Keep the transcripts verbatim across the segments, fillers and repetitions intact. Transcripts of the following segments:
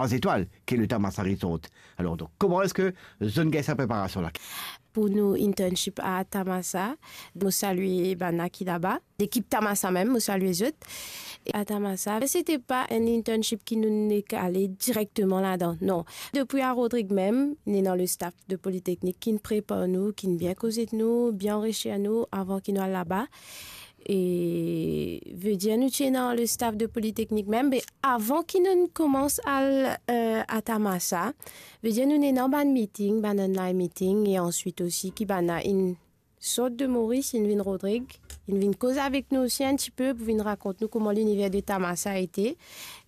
trois étoiles, qui est le Tamasa Resort. Alors, donc, comment est-ce que zot inn gagn sa préparasion-là ? Pou nou internship a Tamasa, mo salye bann ki laba. Lekip Tamasa mem, mo salye zot. E a Tamasa, se ti pa enn internship ki nou nek ale direkteman ladan, non. Depi a Rodrig mem, nou ena le staff de Polytechnique ki'nn prepar nou, ki'nn bien koz ek nou, bien anrichir nou avan ki nou al laba. E, vedir nou ti ena le staff de Polytechnique mem, me avan ki nou koumans al, eh, a Tamasa, vedir nou ena bann meeting, bann online meeting, e answit osi ki bann inn sort de Moris, inn vinn Rodrig, inn vinn koz avek nou osi enn tipe pou vinn rakont nou kouma liniver de Tamasa ete.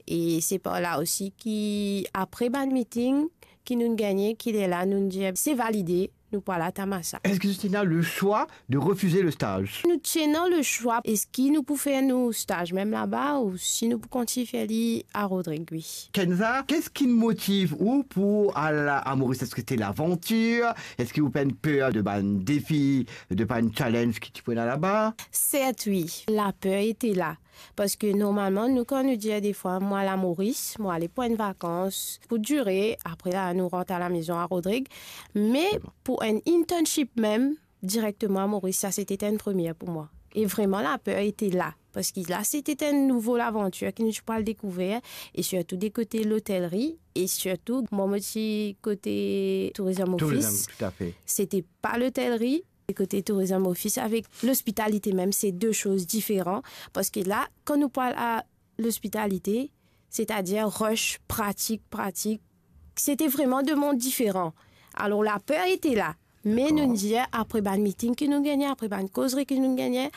E se par la osi ki apre bann meeting ki nou gagne, ki lerla nou dir se valide, nou pou al a Tamasa. Est-ce que tu as le choix de refuser le stage ? Nou ti ena le swa, eski nou pou fer nou staz mem laba ou si nou pou kontign fer li a Rodrig, wi. Kenza, qu'est-ce qui motive ou pour aller à Maurice ? Est-ce que c'était l'aventure ? Est-ce que ou pena per de bann defi, de bann challenge ki ti pou ena laba ? Sert, wi, laper ete la. Parski normalman, nou, kan nou dir defwa, mo al a Moris, mo ale pou enn vakans, pou dire, apre la, nou rant a lamezon a Rodrig. Me pou enn internship mem, direkteman a Moris, sa se ti enn premie pou mwa. E vreman, laper ete la. Parski la, se ti enn nouvo lavantir ki nou ti pou al dekouver, e sirtou de kote lotelri, e sirtou, mwa, mo ti kote tourism office. Tourism, tout à fait. Se ti pa lotelri, e kote tourism office avek lospitalite mem, se de soz diferan. Parski la, kan nou pou al a lospitalite, setadir rush, pratik, pratik, se ti vreman de mond diferan. Alor, laper ete la. Me nou dir, apre bann meeting ki nou gagne, apre bann kozri ki nou gagne,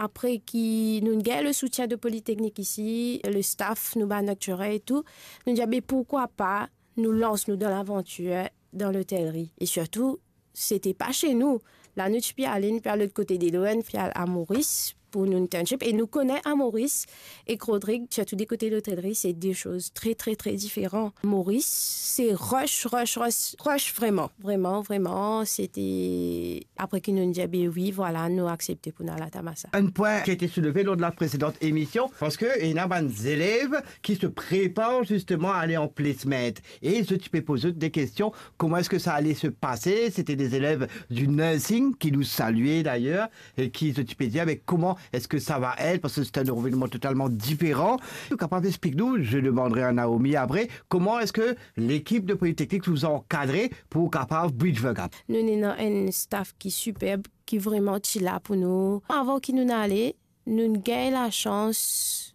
apre ki nou gagn le soutien de Polytechnique isi, le staff, nou bann lecturer e tou, nou dir, be, pourkwa pa nou lans nou dan lavantir, dan lotelri. E sirtou, se ti pa se nou. La, nou ti pe ale, nou pe al lot kote delo, nou pe al a Moris pou nou internship. E nou kone a Moris ek Rodrig, sirtou de kote lotelri, se de soz tre, tre, tre diferan. Moris, se rush, rush, rush, rush vreman. Vreman, vreman, se ti apre ki nou dir, be wi, vwala, nou aksepte pou nou al a Tamasa. Un point qui a été soulevé lors de la précédente émission, parce que il y a des élèves qui se préparent justement à aller en placement. Et je t'ai posé des questions, comment est-ce que ça allait se passer ? C'était des élèves du nursing qui nous saluaient d'ailleurs, et qui, je t'ai dit, mais comment est-ce que ça va être ? Parce que c'est un environnement totalement différent. Ou kapav explik nou, je demanderai à Naomi après, comment est-ce que l'équipe de Polytechnique vous a encadré pour kapav bridge the gap ? Nou ena enn staff ki siperb, ki vreman ti la pou nou. Avan ki nou ale, nou gagn lasans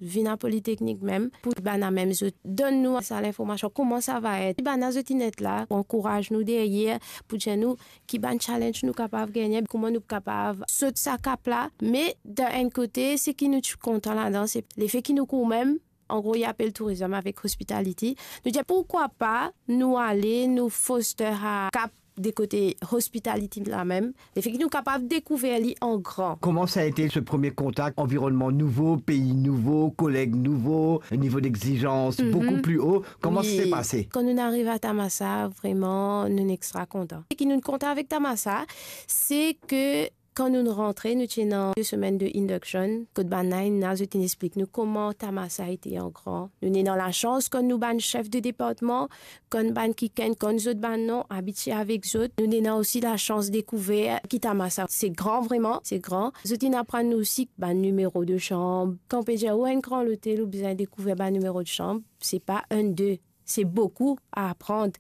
vinn a Polytechnique mem, pou bann la mem zot donn nou sa linformasion, kouma sa va et. Bann la zot inn et la, pou ankouraz nou deryer, pou dir nou ki bann challenge nou kapav gagne, kouma nou kapav sot sa kap la. Me dan enn kote, seki nou ti kontan ladan, se lefe ki nou koumem, an gro, li apel tourism avek hospitality. Nou dir, pourkwa pa nou ale, nou foster sa kap de kote hospitality la mem, lefe ki nou kapav dekouver li an gran. Comment ça a été ce premier contact ? Environnement nouveau, pays nouveau, collègues nouveaux, niveau d'exigence beaucoup plus haut. Comment ça s'est passé ? Kan nou ariv a Tamasa, vreman, nou extra kontan. Seki nou kontan avek Tamasa, se ke kan nou rantre, nou ti ena de semenn de induction, kot bann la inn la, zot inn explik nou kouma Tamasa ete an gran. Nou ena lasans, kan nou bann sef de departman, kan bann ki ken, kan zot bann non, abitie avek zot. Nou ena osi lasans dekouver ki Tamasa se gran vreman, se gran. Zot inn aprann nou osi bann nimero de sanm. Kan pe dir ou enn gran lotel, ou bizin dekouver bann nimero de sanm, se pa enn, de. Se boukou a aprann.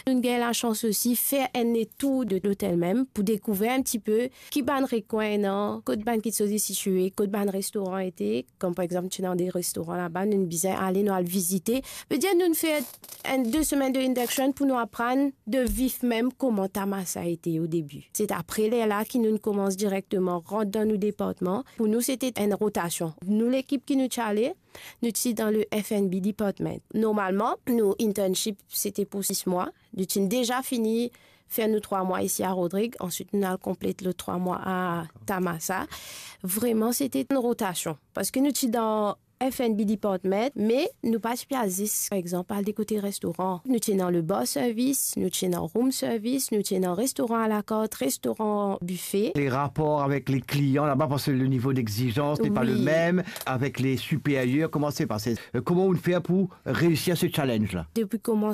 Nou gagn lasans osi fer enn letour de lotel mem pou dekouver enn tipe ki bann rekwin ena, kot bann kitsoz ete sitie, kot bann restoran ete. Kom par exanp, ti ena de restoran laba, nou bizin ale, nou al vizite. Vedir nou fer enn de semenn de induction pou nou aprann de vif mem kouma Tamasa ete o debi. Se apre lerla ki nou koumans direkteman rant dan nou departman. Pou nou, se ti enn rotasion. Nou, lekip ki nou ti ale, nou ti dan le F and B department. Normalman, nou internship, se ti pou sis mwa. Nou ti deza fini fer nou trwa mwa isi a Rodrig, answit nou al konplet lot trwa mwa a Tamasa. Vreman, se ti enn rotasion. Parski nou ti dan F and B department, me nou pa ti pe al zis, par exanp, al de kote restoran. Nou ti ena le bar service, nou ti ena room service, nou ti ena restoran a la carte, restoran buffet. Les rapports avec les clients là-bas, parce que le niveau d'exigence n'est pas le même avec les supérieurs. Comment c'est passé ? Euh, comment on fait pour réussir ce challenge-là ? Depi koumans